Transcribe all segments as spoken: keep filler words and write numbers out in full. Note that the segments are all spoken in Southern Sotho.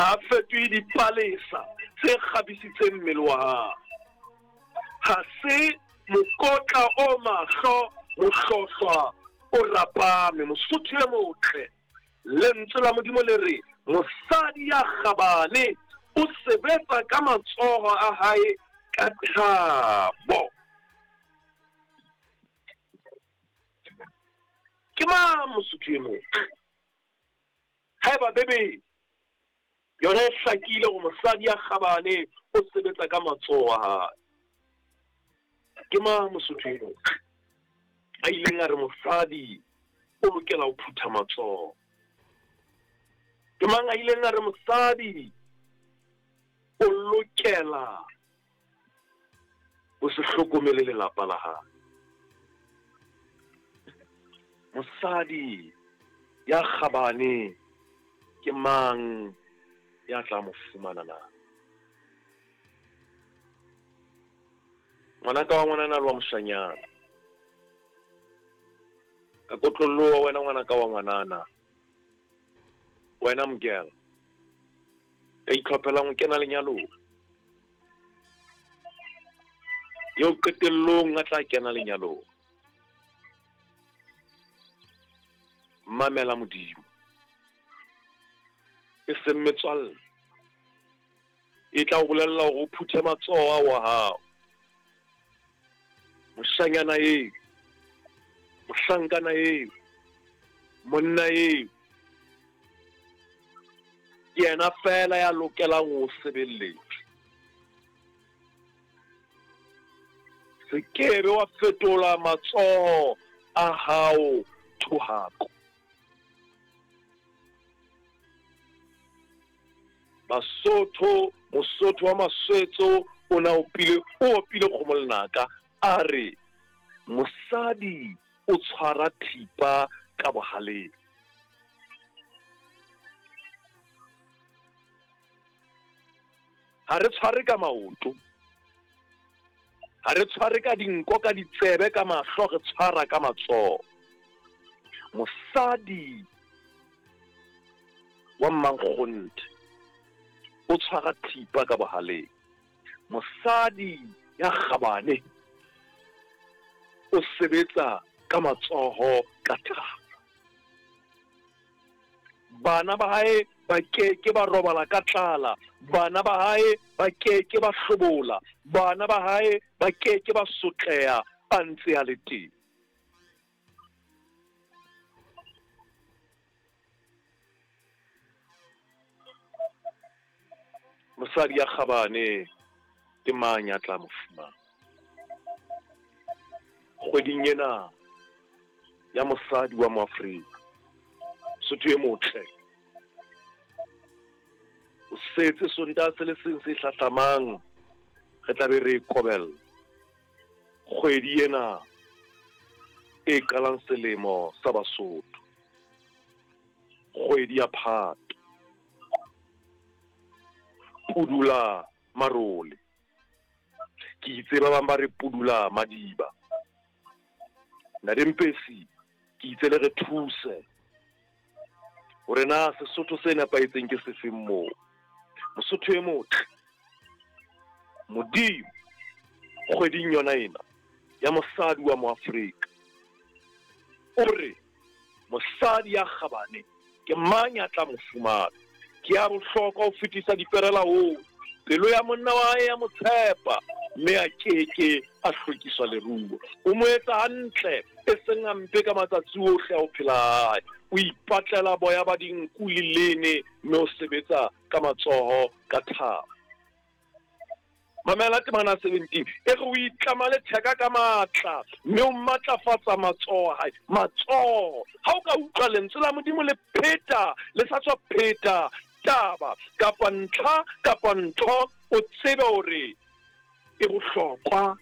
Ha a fetohe dipalesa tse kgabisitseng mmele wa hae. Ha se mokotla o mahlo, mohlohlwa o rapame. Mosotho e motle, lentswe la Modimo le re mosadi ya kgabane o sebetsa ka matsoho a hae ka thabo. Ke mang mosotho e motle? Haeba Bibele yona e hlakile hore mosadi ya kgabane o sebetsa ka matsoho a hae, ke mang mosotho e motle a ileng a re mosadi o lokela ho phutha matsoho? Ke mang a ileng a re mosadi o lokela ho se hlokomele lelapa la hae? Mosadi ya kgabane ke mang ya tla mo fumana na? Ngwanaka wa ngwanana le wa moshanyana, ka kotloloha wena ngwanaka wa ngwanana, wena mokela ka itlhophelang ho kena lenyalong, eo qetellong a tla kena lenyalong. Mamela Modimo, e seng metswalle e tla o bolella hore o phuthe matsoho ao a hao. Moshanyana eo, mohlankana eo, monna eo ke yena feela ya lokelang ho sebeletsa. Se ke be wa fetola matsoho a hao thohako. Basotho, Mosotho wa Maswetso o na opile, o opile kgomo lenaka a re mosadi o tshwara thipa ka bohaleng. Ha re tshware ka maoto, ha re tshware ka dinko, ka ditsebe, ka mahlo, re tshwara ka matsoho. Mosadi wa mmankgonthe o tshwara thipa ka bohaleng. Mosadi ya kgabane o sebetsa ka matsoho ka thabo. Bana ba hae ba ke ke ba robala ka tlala, bana ba hae ba ke ke ba hlobola, bana ba hae ba ke ke ba sotleha a ntse a le teng. Mosadi ya kgabane ke mang ya tla mo fumana? Kgweding ena ya mosadi wa Moafrika, Sotho e motle, o setse Sontaha se le seng se hlahlamang re tla be re kobella kgwedi ena e qalang selemo sa Basotho, kgwedi ya Phato, pudula marole. Ke itse ba bang ba re pudula madiba. Ntate Mpesi, ke itse le re thuse hore na Sesotho se nepahetseng ke sefeng moo. Mosotho e motle, Modimo kgweding yona ena ya mosadi wa Moafrika o re mosadi ya kgabane ke mang ya tla mo fumana? Ke ya bohlokwa ho fetisa diperela ho pelo ya monna wa hae ya mo tshepa, mme a keke a hlwekiswa leruo. O mo etsa hantle e seng hampe ka matsatsi ohle a ho phela hae. O ipatlela boya ba dinku le lene, mme o sebetsa ka matsoho ka thabo. Mamela temana seventeen e re o itlama letheka ka matla, mme o matlafatsa matsoho a hae. Matsoho, ha o ka utlwa lentswe la Modimo le pheta, le sa tswa pheta taba kapa ntlha kapa ntho, o tsebe hore e bohlokwa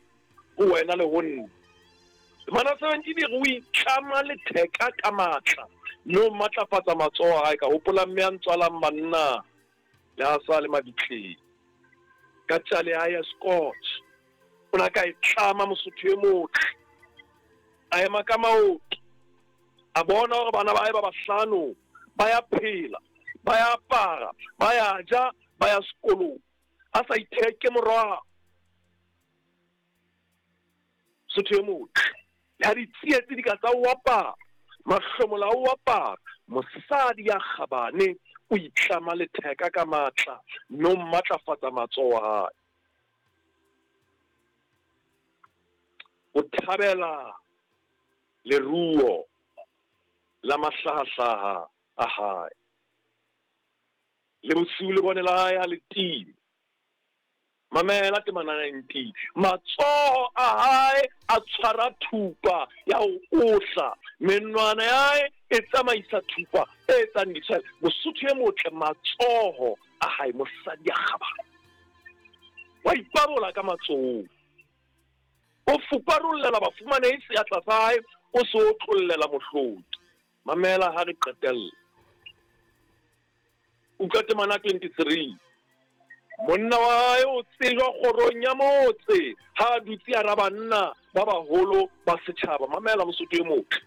ho wena le ho nna. Temana seventeen e re o itlama letheka ka matla, mme o matlafatsa matsoho a hae. Ka hopola mme a ntswalang banna le ha sa le mabitleng ka tjale ya ya scotch, o na ka e tlama Mosotho e motle, a ema ka maoto, a bona hore bana ba hae ba bahlano ba ya phela, Ba ya apara, ba ya ja, ba ya sekolong. A sa itheke morwalo. Sotho e motle. Le ha ditsietsi di ka tsa o apara, mahlomola a o apara, mosadi ya kgabane o itlama letheka ka matla mme o matlafatsa matsoho a hae. O thabela leruo la mahlahahlaha a hae. Le bosiu lebone la hae ha le time. Mamela temana nineteen. Matsoho a hae a tshwara thupa ya ho ohla. Menwana ya hae e tsamaisa thupa e etsang ditshwele. Mosotho e motle, matsoho a hae, mosadi ya kgabane. Wa ipabola ka matsohong. O fuparollela bafumanehi seatla sa hae, o se otlollela mohloki. Mamela ha re qetella. Utlwa temana twenty-three. Monna wa hae o tsejwa kgorong ya motse ha a dutse hara banna ba baholo ba setjhaba. Mamela Mosotho e motle.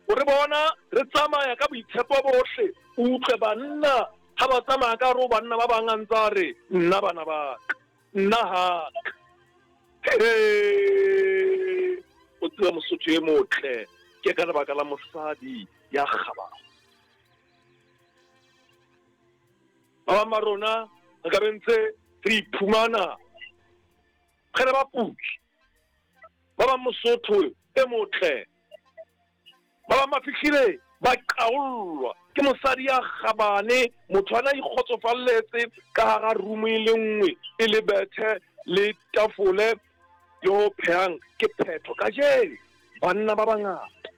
O re bona re tsamaya ka boitshepo bohle. O utlwe banna ha ba tsamaya ka hare ho banna ba bang a ntse a re nna bana ba ka, nna ha ka. He, o tseba Mosotho e motle ke ka lebaka la mosadi ya kgabane. Ba bang ba rona re ka be ntse re iphumana re le baputsi. Ba bang Mosotho e motle, ba bang ba fihlile ba qaollwa ke mosadi ya kgabane. Motho ana ikgotsofalletse ka hara room e le nngwe e le bethe le tafole le ho phehang ke phetho. Kajeno banna ba bangata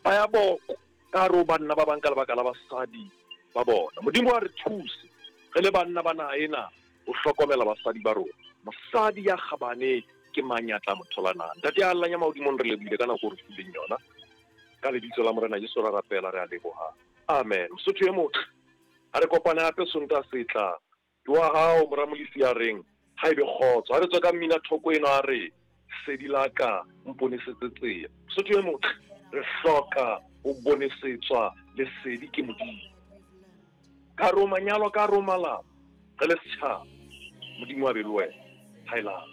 ba ya boko ka hare ho banna ba bang ka lebaka la basadi ba bona. Modimo a re thuse re le banna ba naha ena ho hlokomela basadi ba rona. Mosadi ya kgabane ke mang ya tla mo thola na? Ntate ya Allahnya mahodimong, re lebohile ka nako o re fileng yona. Ka lebitso la Morena Jesu ra rapela, re a leboha. Amen. Mosotho e motle, ha re kopane hape Sontaha se tlang. Ke wa hao mora Molisi ya reng ha ebe kgotso. Ha re tswa ka mmina thoko eno a re sedi la ka mponesetse tsela. Mosotho e motle, re hloka ho bonesetswa lesedi ke Modimo. Ka hare ho manyalo, ka hare ho malapa, re le setjhaba. Modimo a be le wena. Haelana.